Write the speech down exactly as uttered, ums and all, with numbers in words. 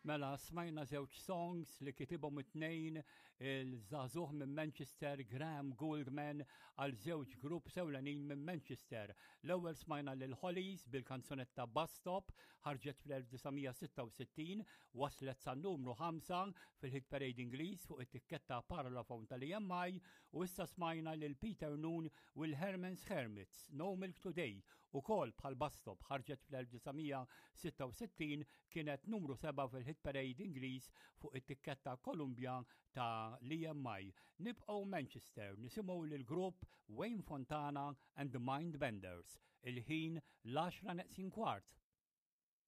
Mela, smajna żewġ songs li kitibhom it-tnejn il-żagħżugħ minn Manchester Graham Gouldman għal żewġ grupp ewlenin minn Manchester. L-ewwel smajna lil Hollies bil-kanzunetta Bus Stop, ħarġet fl-elf disa' mija sitta u sittin, waslet sa numru ħamsa fil-Hit Parade Ingliż fuq it-tikketta Parlophone tal-E M I, u issa smajna lil Peter Noone u l-Herman's Hermits, No Milk Today, ukoll bħal Bus Stop ħarġet fl-elf disa' mija sitta u sittin, kienet numru seba' fil-Hit Parade Ingliż fuq it-tikketta Columbia ta' l-E M I. Nibqgħu Manchester, nisimgħu lil grupp Wayne Fontana and the Mindbenders. Il-ħin l-għaxra neqsin kwart.